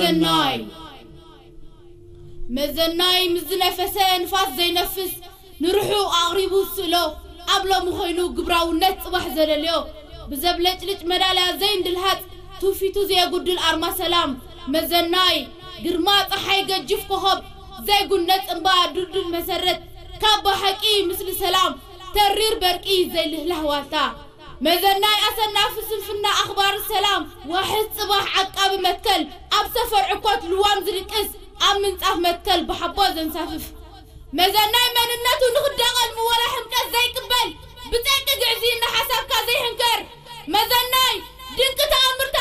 መዘናይ መዘናይ ምስ ዝነፈሰ ንፋስ ዘይነፍስ ንርሑ ኣቕሪቡ ስእሎ ኣብ ሎሚ ኮይኑ ግብራውነት ጽባሕ ዘለልዮ ብዘብለጭልጭ መዳልያ ዘይንድልሃጽ ትውፊቱ ዘየጉድል ኣርማ ሰላም መዘናይ ግርማ ጸሓይ ገጅፍ ኮኸብ ዘይጉነጽ እምባ ድልዱል መሰረት ካብ ብሓቂ ምስሊ ሰላም ተሪር በርቂ ዘይልህላህ ዋልታ መዘናይ ኣሰናፊ ስንፍና ኣኽባሪ ሰላም ዋሕስ ጽባሕ ዓቃቢ መትከል ኣብ ሰፈር ዕኮት ልዋም ዝድቅስ ኣብ ምንጻፍ መትከል ብሓቦ ዘንሳፍፍ መዘናይ መንነቱ ንኽዳቐል ምወላ ሕምቀት ዘይቅበል ብጸቂ ግዕዚ እናሓሳብካ ዘይሕንከር መዘናይ ድንቂ ተኣምርታ